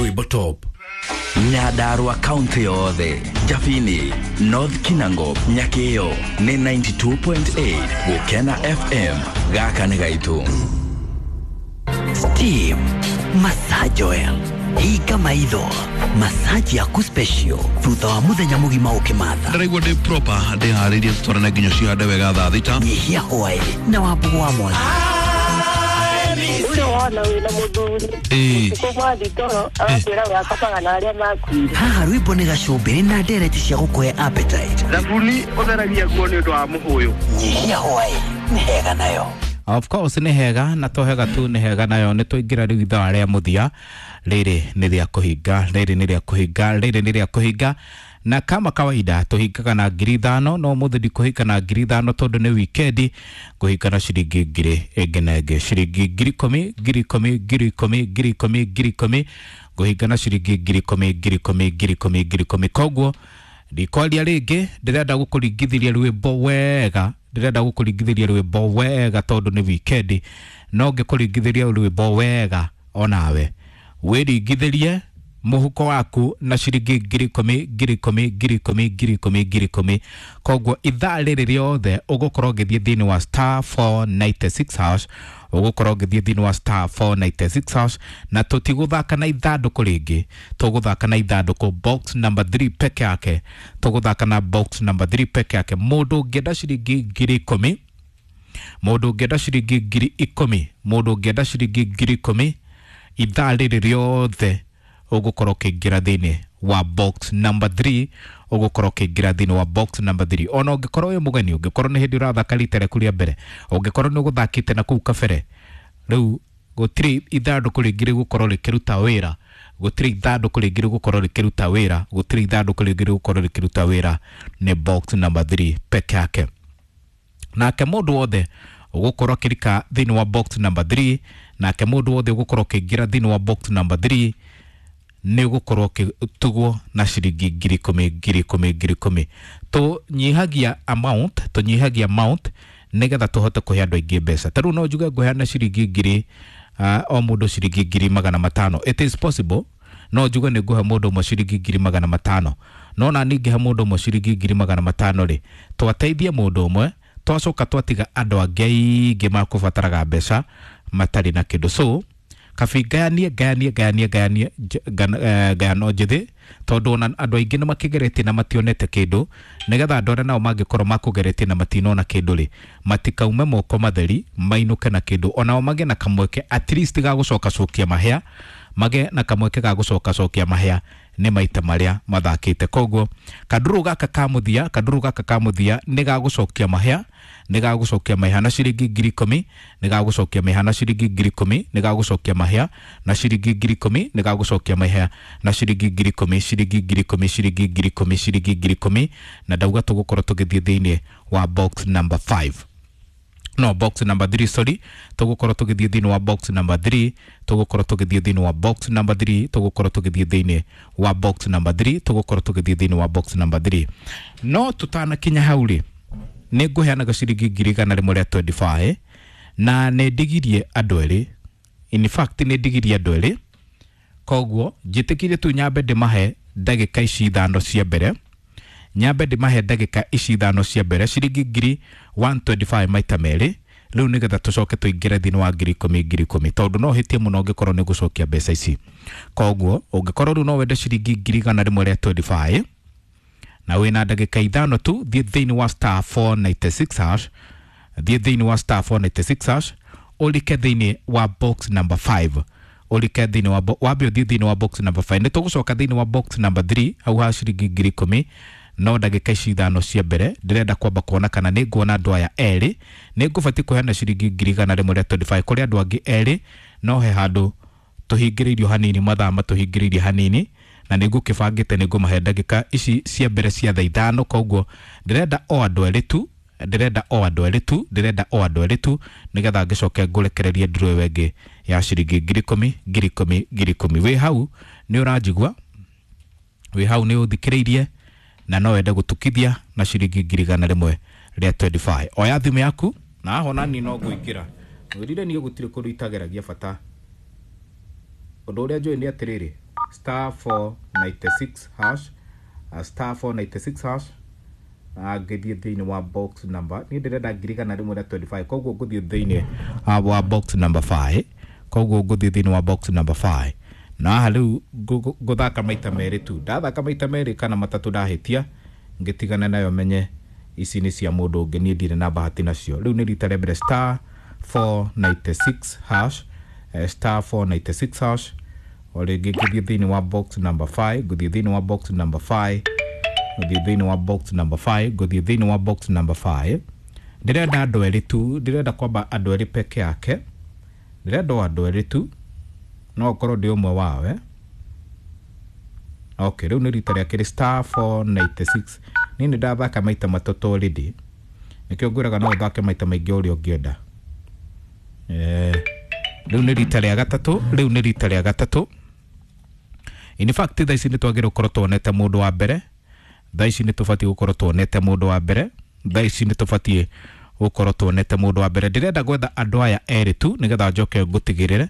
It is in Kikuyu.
Rwimbo top. Nyandarua kaunti yothe, Jabini, North Kinango, Nyakio nĩ 92.8 Gũkena FM. Gaka nĩ gaitũ. Steam Massage Oil, hinga maitho, massage yaku special thutha wa muthenya mugima ukimatha. Ndĩraigua ndĩ proper, ndĩharĩirie tũtwarane nginya cihande wega thaa 6. Nyihia hwaĩ na wambugu wa mwangi. Ũcio wona wĩna mũthuri ũtukũ mwathi toro agakwĩra we akomaga na arĩa makuire. Haha rwĩmbo nĩ gacumbĩrĩ na ndereti cia gũkũhe appetite. Thabuni ũtheragia nguo nĩ ũndũ wa mũhũyũ. Nyihia hwaĩ nĩ hega nayo. Of course nĩ hega, na to hega tu, nĩ hega nayo. Nĩ tũingĩra rĩu ithaa rĩa mũthia. Rĩrĩ nĩ rĩa kũhinga, rĩrĩ nĩ rĩa kũhinga, rĩrĩ nĩ rĩa kũhinga. Na kama kawaida tũhingaga na 5,000, no mũthĩ ndikũhinga na 5,000 tondũ nĩ wikendi. Ngũhinga na ciringi ngiri ĩngĩ na ĩngĩ, ciringi 10,000, 10,000, 10,000, 10,000, 10,000. Ngũhinga na ciringi 10,000, 10,000, 10,000, 10,000. Koguo ndikwaria rĩngĩ, ndĩrenda gũkũringithĩria rwĩmbo wega, ndĩrenda gũkũringithĩria rwĩmbo wega tondũ nĩ wikendi. No ngĩkũringithĩria rwĩmbo wega, onawe wĩringithĩrie mũhuko waku na ciringi 10,000, 10,000, 10,000, 10,000, 10,000. Koguo ithaa rĩrĩ rĩothe ũgũkorwo ũgĩthiĩ thĩinĩ wa *496#, ũgũkorwo ũgĩthiĩ thĩinĩ wa *496#, na tũtigũthaka na ithandũkũ rĩngĩ, tũgũthaka na ithandũkũ box number 3 peke yake, tũgũthaka na box number 3 peke yake. Mũndũ ũngĩenda ciringi 10,000, mũndũ ũngĩenda ciringi 10,000, mũndũ ũngĩenda ciringi 10,000, ithaa rĩrĩ rĩothe ũgũkorwo ũkĩingĩra thĩinĩ wa box number 3, ũgũkorwo ũkĩingĩra thĩinĩ wa box number 3. Ona ũngĩkorwo wĩ mũgeni, ũngĩkorwo nĩ hĩndĩ ũrathaka rita rĩaku rĩa mbere, ũngĩkorwo nĩ ũgũthakĩte na kũu kabere, rĩu gũtirĩ ithandũkũ rĩngĩ rĩgũkorwo rĩkĩruta wĩra, gũtirĩ ithandũkũ rĩngĩ rĩgũkorwo rĩkĩruta wĩra, gũtirĩ ithandũkũ rĩngĩ rĩgũkorwo rĩkĩruta wĩra, nĩ box number 3 peke yake. Nake mũndũ wothe ũgũkorwo akĩrika thĩinĩ wa box number 3, nake mũndũ wothe ũgũkorwo ũkĩingĩra thĩinĩ wa box number 3 nĩ ũgũkorwo ũkĩtugwo na ciringi 10,000, 10,000, 10,000. Tũnyihagia amount, tũnyihagia amount nĩgetha tũhote kũhe andũ aingĩ mbeca. Ta rĩu no njuge ngũheana ciringi ngiri, o mũndũ ciringi 500,000. It is possible no njuge nĩ ngũhe mũndũ ũmwe ciringi 500,000, no na ningĩhe mũndũ ũmwe ciringi 500,000 rĩ, twateithie mũndũ ũmwe, twacoka twatiga andũ angĩ aingĩ makũbataraga mbeca matarĩ na kĩndũ. So kabi ngayanie, ngayanie, ngayanie, ngayanie ngayano njĩthĩ, tondũ ona andũ aingĩ nĩ makĩgeretie na mationete kĩndũ, nĩgetha andũ arĩa nao mangĩkorwo makũgeretie na matinona kĩndũ rĩ, matikaume moko matheri, mainũke na kĩndũ, onao magĩe na kamweke at least ga gũcoka cokia mahĩa, magĩe na kamweke ga gũcoka cokia mahĩa nĩ maita marĩa mathakĩte. Koguo kandũrũ gaka ka mũthia, kandũrũ gaka ka mũthia nĩ ga gũcokia mahĩa, nĩ ga gũcokia mahĩa na ciringi 10,000, nĩ ga gũcokia mahĩa na ciringi 10,000, nĩ ga gũcokia mahĩa na ciringi 10,000, nĩ ga gũcokia mahĩa na ciringi 10,000, ciringi 10,000, ciringi 10,000, ciringi 10,000. Na ndauga tũgũkorwo tũgĩthiĩ thĩinĩ wa box number 5, no box number 3, sorry, tũgũkorwo tũgĩthiĩ thĩinĩ wa box number 3, tũgũkorwo tũgĩthiĩ thĩinĩ wa box number 3, tũgũkorwo tũgĩthiĩ thĩinĩ wa box number 3, tũgũkorwo tũgĩthiĩ thĩinĩ wa box number 3. No tũtanakinya hau rĩ, nĩ ngũheanaga ciringi 125,000, na nĩ ndigirie andũ erĩ, in fact nĩ ndigirie andũ erĩ. Koguo njĩtĩkire tu nyambe ndĩmahe ndagĩka ici 5 cia mbere, nyambe ndĩmahe ndagĩka ici 5 cia mbere ciringi 125,000 maita merĩ rĩu, nĩgetha tũcoke tũingĩre thĩinĩ wa 10,000, 10,000, tondũ no hĩtie mũno ũngĩkorwo nĩ gũcokia mbeca ici. Koguo ũngĩkorwo rĩu no wende ciringi 125,000 na wĩna ndagĩka 5 tu, thiĩ thĩinĩ wa *496#, thiĩ thĩinĩ wa *496# ũrike thĩinĩ wa box number 5, ũrike thĩinĩ wa wambe ũthiĩ thĩinĩ wa box number 5. Nĩ tũgũcoka thĩinĩ wa box number 3 hau ha ciringi 10,000, no ndagĩka ici 5 cia mbere ndĩrenda kwamba kuona kana nĩ nguona andũ aya erĩ. Nĩ ngũbatiĩ kũheana ciringi 125,000 kũrĩ andũ angĩ erĩ, no he handũ tũhingĩrĩirio hanini, mathaa matũhingĩrĩirie hanini, na nĩ ngũkĩbangĩte nĩ ngũmahe ndagĩka ici cia mbere cia thaa 5. Koguo ndĩrenda o andũ erĩ tu, ndĩrenda o andũ erĩ tu, ndĩrenda o andũ erĩ tu, nĩgetha ngĩcoke ngũrekererie nduru ĩyo ĩngĩ ya ciringi 10,000, 10,000, 10,000. Wĩ hau nĩ ũranjigua, wĩ hau nĩ ũthikĩrĩirie, na no wende gũtukithia na ciringi 125,000. Oya thimũ yaku na aho nani no ngũingĩra mwĩrire niĩ gũtirĩ kũndũ itageragia bata. Ũndũ ũrĩa njũĩ nĩ atĩrĩrĩ, Star 496 hash, star 496 hash. Ngĩthiĩ thĩinĩ wa box number, niĩ ndĩrenda 125, koguo ngũthiĩ thĩinĩ wa box number 5, koguo ngũthiĩ thĩinĩ wa box number 5. Na haha rĩu ngũthaka maita merĩ tu. Ndathaka maita merĩ kana matatũ, ndahĩtia ngĩtigana nayo, menye ici nĩ cia mũndũ ũngĩ, niĩ ndirĩ na bahati nacio. Rĩu nĩ rita rĩa mbere, star 496 hash, star 496 hash. O rĩngĩ ngĩthiĩ thĩinĩ wa box number 5, ngũthiĩ thĩinĩ wa box number 5, ngũthiĩ thĩinĩ wa box number 5, ngũthiĩ thĩinĩ wa box number 5. Ndĩrenda andũ erĩ tu, ndĩrenda kwamba andũ erĩ peke yake, ndĩrenda o andũ erĩ tu, no ũkorwo ndĩ ũmwe wao, eh? Okay, rĩu nĩ rita rĩa kerĩ, star 496. Niĩ nĩ ndathaka maita matatũ already, nĩkĩo ngwĩraga no ũthake maita maingĩ ũrĩa ũngĩenda. Rĩu nĩ rita rĩa gatatũ, rĩu nĩ rita rĩa gatatũ. In fact, thaa ici nĩ twagĩrĩirwo gũkorwo tuonete mũndũ wa mbere. Thaa ici nĩ tũbatiĩ gũkorwo tuonete mũndũ wa mbere. Thaa ici nĩ tũbatiĩ gũkorwo tuonete mũndũ wa mbere. Ndĩrenda gwetha andũ aya erĩ tu nĩgetha njoke ngũtigĩrĩre.